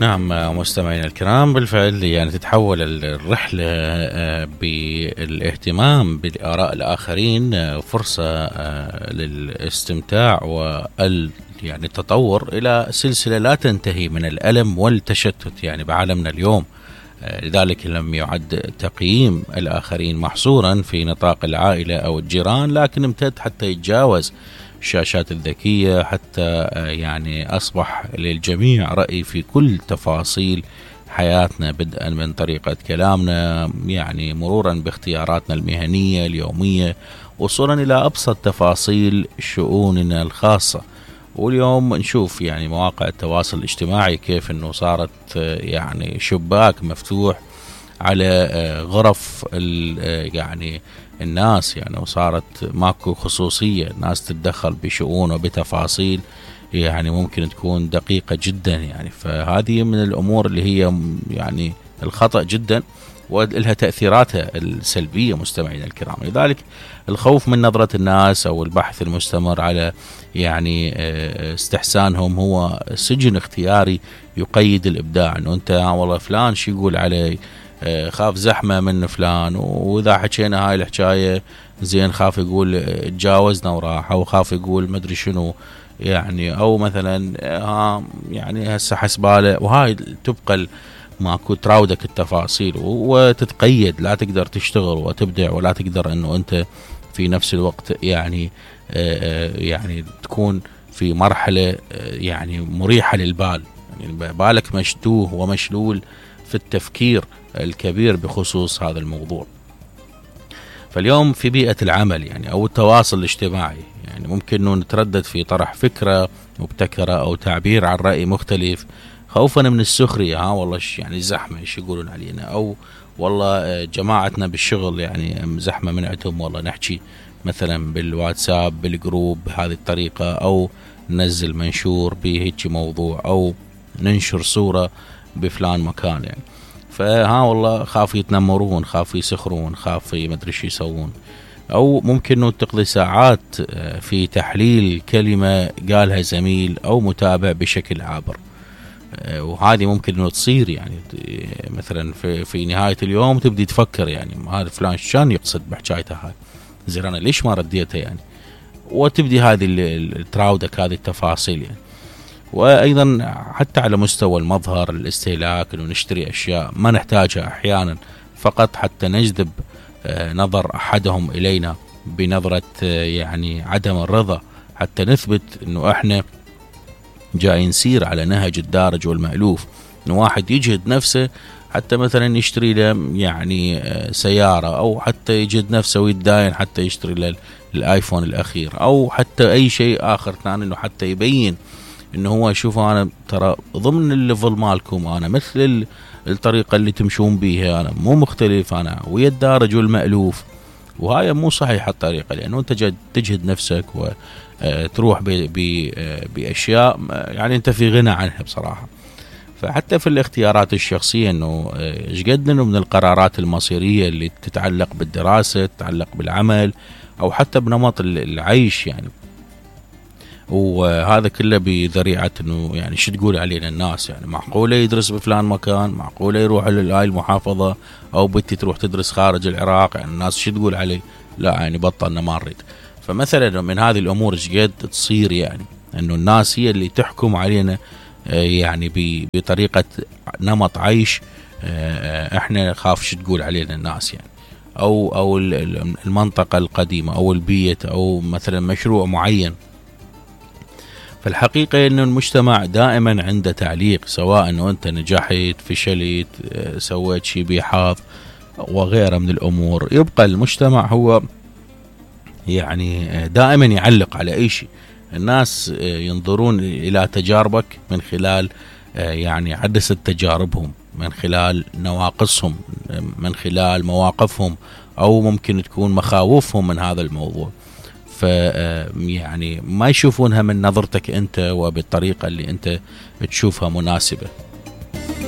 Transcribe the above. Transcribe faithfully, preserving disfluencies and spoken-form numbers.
نعم مستمعينا الكرام، بالفعل يعني تتحول الرحلة بالاهتمام بآراء الآخرين فرصة للاستمتاع وال يعني التطور إلى سلسلة لا تنتهي من الألم والتشتت يعني بعالمنا اليوم. لذلك لم يعد تقييم الآخرين محصورا في نطاق العائلة أو الجيران، لكن امتد حتى يتجاوز الشاشات الذكية، حتى يعني أصبح للجميع رأي في كل تفاصيل حياتنا، بدءا من طريقة كلامنا يعني مرورا باختياراتنا المهنية اليومية، وصولا إلى أبسط تفاصيل شؤوننا الخاصة. واليوم نشوف يعني مواقع التواصل الاجتماعي كيف أنه صارت يعني شباك مفتوح على غرف يعني الناس يعني، وصارت ماكو خصوصية، الناس تتدخل بشؤون وبتفاصيل يعني ممكن تكون دقيقة جدا يعني. فهذه من الأمور اللي هي يعني الخطأ جدا ولها تأثيراتها السلبية مستمعينا الكرام. لذلك الخوف من نظرة الناس أو البحث المستمر على يعني استحسانهم هو سجن اختياري يقيد الإبداع. أنه أنت والله فلان شو يقول علي، خاف زحمة من فلان، وإذا حكينا هاي الحكاية زين خاف يقول تجاوزنا وراح، أو خاف يقول مدري شنو يعني، أو مثلا ها يعني هسه حسباله. وهاي تبقى ماكو تراودك التفاصيل وتتقيد، لا تقدر تشتغل وتبدع، ولا تقدر أنه أنت في نفس الوقت يعني يعني تكون في مرحلة يعني مريحة للبال، يعني بالك مشتوه ومشلول في التفكير الكبير بخصوص هذا الموضوع. فاليوم في بيئة العمل يعني أو التواصل الاجتماعي يعني ممكن أنه نتردد في طرح فكرة مبتكرة أو تعبير عن رأي مختلف خوفا من السخرية، ها والله يعني زحمة ايش يقولون علينا، أو والله جماعتنا بالشغل يعني زحمة من عندهم، والله نحكي مثلا بالواتساب بالجروب بهذه الطريقة، أو ننزل منشور بهيك موضوع، أو ننشر صورة بفلان مكان يعني. فها والله خاف يتنمرون، خاف يسخرون، خاف مدري شو يسوون. أو ممكن أنه تقضي ساعات في تحليل كلمة قالها زميل أو متابع بشكل عابر، وهذه ممكن أنه تصير يعني مثلا في, في نهاية اليوم تبدي تفكر يعني هذا فلان شان يقصد بحكايته هاي، زين أنا ليش ما رديته يعني، وتبدي هذه التراودك هذه التفاصيل يعني. وأيضا حتى على مستوى المظهر الاستهلاك، أنه نشتري أشياء ما نحتاجها أحيانا فقط حتى نجذب نظر أحدهم إلينا بنظرة يعني عدم الرضا، حتى نثبت أنه إحنا جاي نسير على نهج الدارج والمألوف. أنه واحد يجهد نفسه حتى مثلا يشتري له يعني سيارة، أو حتى يجهد نفسه ويتداين حتى يشتري له الآيفون الأخير، أو حتى أي شيء آخر ثاني، أنه حتى يبين انه هو يشوف انا ترى ضمن الليفل مالكم، انا مثل الطريقة اللي تمشون بيها، انا مو مختلف، انا ويا الدارج والمألوف. وهاي مو صحيحة الطريقة، لانه انت تجهد نفسك وتروح باشياء يعني انت في غنى عنها بصراحة. فحتى في الاختيارات الشخصية انه ايش قد انه من القرارات المصيرية اللي تتعلق بالدراسة، تتعلق بالعمل، او حتى بنمط العيش يعني، وهذا كله بذريعة انه يعني شو تقول علينا الناس يعني. معقولة يدرس بفلان مكان، معقولة يروح لهاي المحافظة، او بنتي تروح تدرس خارج العراق، يعني الناس شو تقول علي، لا يعني بطلنا ما نريد. فمثلا من هذه الامور ايش قد تصير يعني انه الناس هي اللي تحكم علينا يعني بطريقة نمط عيش احنا خاف شو تقول علينا الناس يعني، او او المنطقة القديمة او البيت، او مثلا مشروع معين. فالحقيقة أن المجتمع دائما عنده تعليق، سواء أنه أنت نجحت فشلت سويت شيء بحظ وغيره من الأمور، يبقى المجتمع هو يعني دائما يعلق على أي شيء. الناس ينظرون إلى تجاربك من خلال يعني عدسة تجاربهم، من خلال نواقصهم، من خلال مواقفهم، أو ممكن تكون مخاوفهم من هذا الموضوع. ف يعني ما يشوفونها من نظرتك أنت وبالطريقة اللي أنت تشوفها مناسبة.